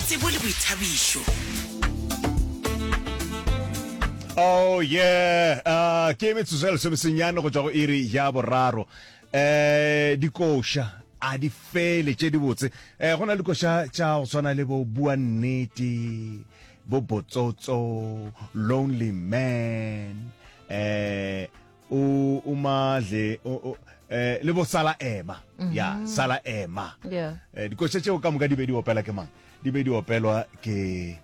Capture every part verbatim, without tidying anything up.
Tsebo le boithabišo. Oh yeah, uh, ke metsotso ya lesomesenyane go tšwa go iri ya boraro. Eh dikoša a di fele tše dibotse. Eh go na le dikoša tša go swana le bo bua nnete, bo botsotso, lonely man, eh o o madle o, o eh le bo sala ema. Ya, sala ema. Yeah. Eh, dikoša tšeo ka moka di be di opela ke mang? Di be di opelwa ke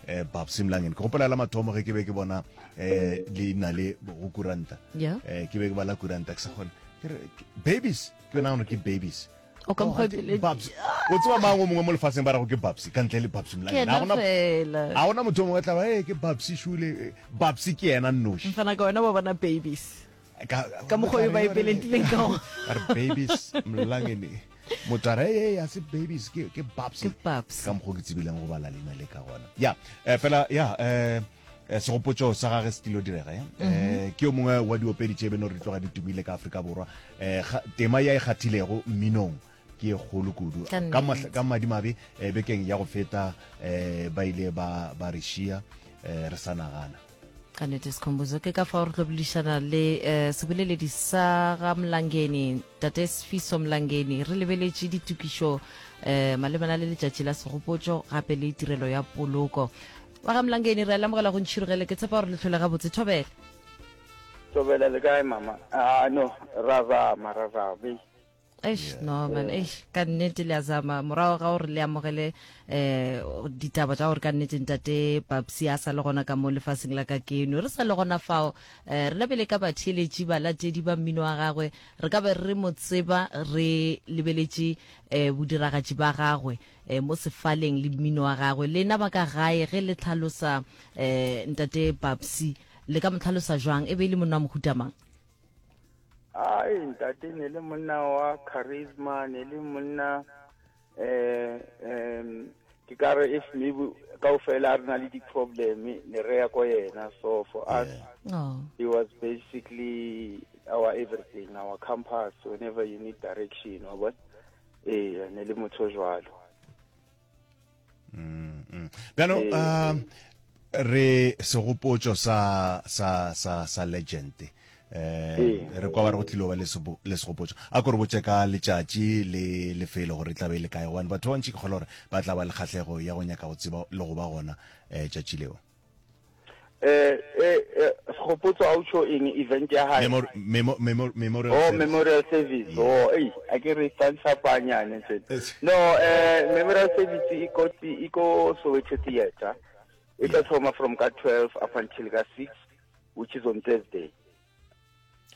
eh Babsy Mlangeni. Ke gopola la mathomo ge ke be ke bona eh leina le go kuranta. Yeah. Eh ke be ke bala kuranta ke sa kgone. Ke re ke- babies, ke nagana ke babies. O ka Oh, mokgwa ante- pele- Babs. O tseba mang o mongwe mo lefaseng ba rego ke Babsy ka ntle le Babsy Ke Mlangeni. yena Ha gona fela. ha gona motho o mongwe tla ba eh ke Babsy Shule. eh, Babsy ke yena nnoši. Mfana ka wena wa bona babies. Ka Ka mokgwa o ba e pelentileng ka gona. A re babies Mlangeni. Motho a re hey, a se babies ke ke Babsy. Ke Babsy. Ka mokgwa o ke tsebileng go bala leina le ka gona. Ya, eh, fela ya eh eh, segopotšo sa gage se tlilo direga eh? Eh, ke yo mongwe wa diopedi tše beno re tloga di tumile ka Afrika Borwa eh, ga- tema ya e kgathilego mminong ke ye kgolo kudu Ka ka mahla- nnete. ka madimabe eh, bekeng ya go feta eh, ba ile ba ba re šia eh, re sa nagana Ka nnete Sikhumbuzo, ke ka fao re tlo boledišana le eh, seboleledi sa ga Mlangeni, Tate Sifiso Mlangeni, re lebeletše ditokišo eh, malebana le letšatši la segopotšo gape le tirelo ya poloko. Wa ga Mlangeni, re a le amogela go Ntšhirogele, ke tshepa gore le hlole gabotse. Thobela. Thobela le kae mama? Ah no, ra zama, ra zama. Eish. Eish, no man, eish, ka nnete le a zama morago ga gore le amogele eh ditaba tša gore ka nnete ntate Babsy a sa le gona ka mo lefaseng la ka keno. Re sa le gona fao, eh, re lebele ka batheeletši balatedi ba mmino wa gagwe, re ka be re mo tseba re lebeletše eh bodiragatši ba gagwe eh mo sefaleng le mmino wa gagwe. Lena ba ka gae ge le tlhalosa eh ntate Babsy, le ka mo tlhalosa jwang? E be e le monna wa mohuta mang? Ai ntate ne le monna wa charisma, ne le monna eh um ke ka re if maybe kaofela re na le di-problem ne re ya ko yena. So for us Oh. he was basically our everything, our compass whenever you need direction, wa bona. Eh ne le motho o jwalo. Bjano Ee. um re segopotšo sa sa sa sa legend eh Ee. re kwa ba re go tlilo ba le sebo- le segopotšo a ko re botše ka letšatši le lefelo gore e tla be e le kae gobane batho ba bantši ke kgolwa gore ba tla ba le kgahlego ya go nyaka go tseba le go ba gona um tšatši leo. Eh eh eh, segopotso a o tjho eng event ya hae? Memor- memo- memo- memorial Oh, service. memorial service. Yeah. Oh, ei, a ke re tsantsapanyane tse. Yes. No, eh memorial service e ko e ko Soweto Theatre. E tla Yeah. thoma from ka twelve up until ka six, which is on Thursday.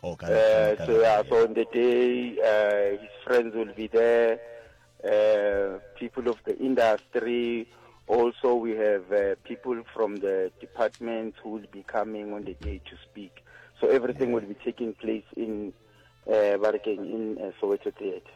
Oh, ka- Uh, ka- so yeah, so on the day, uh, his friends will be there, uh, people of the industry. Also, we have uh, people from the department who will be coming on the day to speak. So everything will be taking place in uh, Barkeng, in uh, Soweto Theatre.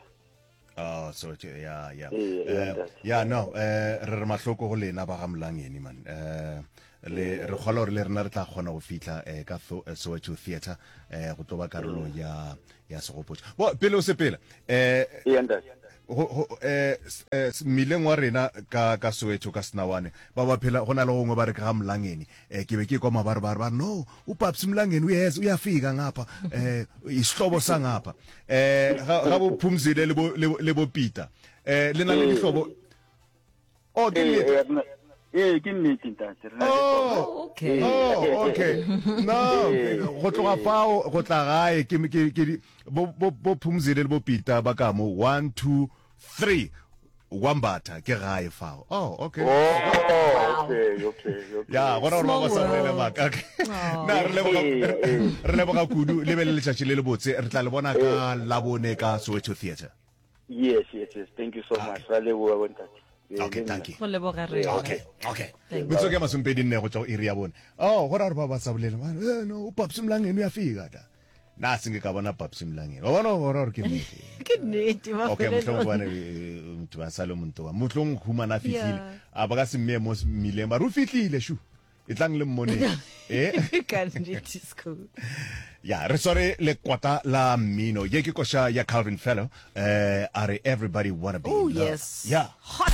Oh, Soweto, yeah, yeah. Ee, Eh, ntate. yeah, no, eh re re mahloko go lena ba ga Mlangeni man. Eh le re kgolwa gore le rena re tla kgona go fihla eh ka Tho- eh, Soweto Theatre eh go tlo ba karolo ya ya segopotšo. Bo pele o sepela eh Ee, ntate. go go eh s- eh, s- mmileng wa rena ka ka Soweto ka Senawane ba ba phela go na le gongwe ba re ke ga Mlangeni eh ke be ke kwa mabare ba re ba re, no uPapsi Mlangeni uyeza uyafika ngapha eh isihlobo sangapha eh ga ga bo Phumzile le bo le bo- le bo Peter eh le na le dihlobo. Oh, ke Ee, nnete. ee, re na- ee, ke nnete ntate. Re na le Oh. Oh, okay. Oh, okay. No, go tloga fao go tla gae ke ke ke di- bo bo bo Phumzile le bo Peter ba ka mo one two three Wambatha ke gae fao. Oh, okay. Oh, okay, okay, okay. Ya, gona gore ba ba sa Small bolele world. maaka. Okay. Na re leboga Ee, ee. re leboga kudu le be le letšatši le le botse. Re tla le bona ka Labone ka Soweto Theatre. Yes, yes, yes. Thank you so much. Ra leboha bo ntate. Ee, Okay, le nna. thank you. Go leboga rena. Okay, okay. Thank Metsotso ke masomepedi nne go tšwa go iri ya bone. Oh, go ra gore ba ba sa bolele. Ba re, Eh, no, uPapsi Mlangeni uyafika da. Na se nke ka bona Papsi Mlangeni. Wa bona gore gore ke nnete. Ke nnete, Okay, mohlomong mafelelong. gobane eh, motho ba sa le monto wa. Mohlomong humana a fihlile. Yeah. A ba ka se mmeye mo mmileng ba re o fihlile shu. E tlang le mmoneng. Eh? Ka nnete, Skhoo. Ya, re sware lekwata la mmino. Ye ke koša ya Calvin Fellow. Eh, a re everybody wanna be Oh, in love. yes. Yeah. Hot